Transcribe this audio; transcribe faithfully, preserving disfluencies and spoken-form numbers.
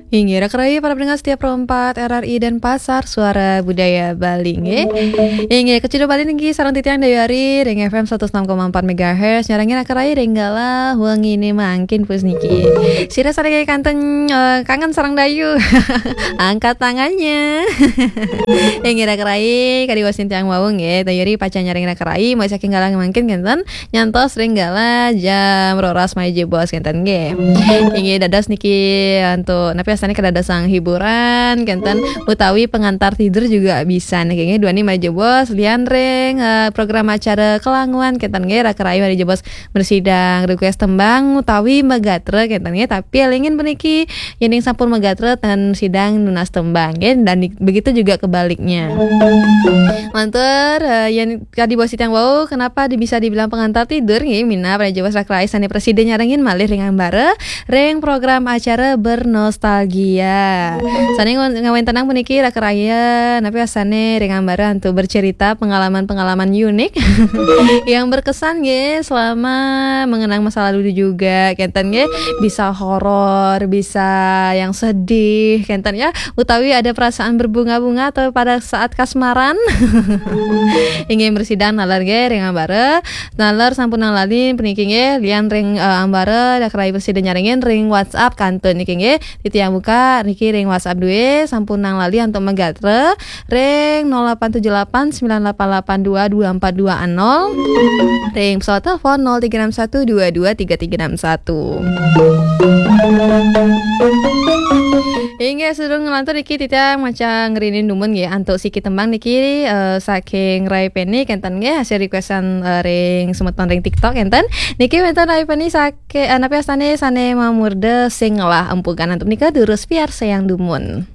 Inggih, Raka Rai, para pendengar setia Pro empat R R I Denpasar, Suara Budaya Bali, nggih. Inggih, kaciduk malih niki sareng titiang Dewi Ari ring F M seratus enam koma empat megahertz, nyarengin Raka Rai ring galah wengine mangkin pus niki. Sira sane kanten, eh, kangen sareng Dayu. Angkat tangannya. Inggih, Raka Rai, kadi wasin tiang wau nggih, Dayu Ari pacang nyarengin Raka Rai, mulai saking galah mangkin kenten, nyantos ring galah jam roras malih jebos kenten nggih. Inggih dados niki antuk napi astane kadadosang hiburan kenten utawi pengantar tidur juga bisa niki nggih, duaning malih jebos lian ring, eh, program acara kelanguan kenten nggih, Raka Rai malih jebos mresidang request tembang utawi magatra kenten nggih, tapi elingin puniki yening sampun magatra ten sidang nunas tembang nggih, dan di- begitu juga kebaliknya. Lantur, eh, yen kadi bos tiang wau, kenapa di- bisa dibilang pengantar tidur nggih, minab malih jebos Raka Rai sane prasida nyarengin malih ring ambara ring program acara Bernostalgia. Sane ngawen- ngawentenang puniki Raka Rai napi astane ring ambara antuk bercerita pengalaman-pengalaman unik yang berkesan nggih selama mengenang masa lalu juga kenten nggih, bisa horor, bisa yang sedih kenten ya, utawi ada perasaan berbunga-bunga atau pada saat kasmaran. Inggih mresidang naler nggih ring ambara. Naler sampunang lali puniki nggih, lian ring, eh, ambara Raka Rai prasida nyarengin ring WhatsApp kantun niki nggih. Titiang buka niki ring WhatsApp duwe, sampunang lali antuk magatra ring nol delapan tujuh delapan sembilan delapan delapan dua dua empat dua nol, ring pesawat telepon nol tiga enam satu dua dua tiga tiga enam satu. Inggih, sedurung nglantur niki titiang maca ngrinin dumun nggih antuk siki tembang niki, eh, saking Rai Penny kenten nggih, hasil requestan, eh, ring semeton ring TikTok kenten. Niki wenten Rai Penny sake-, eh, napi astane sane mamurda Sing Ngelah Empugan, antuk nika durus piarsayang dumun.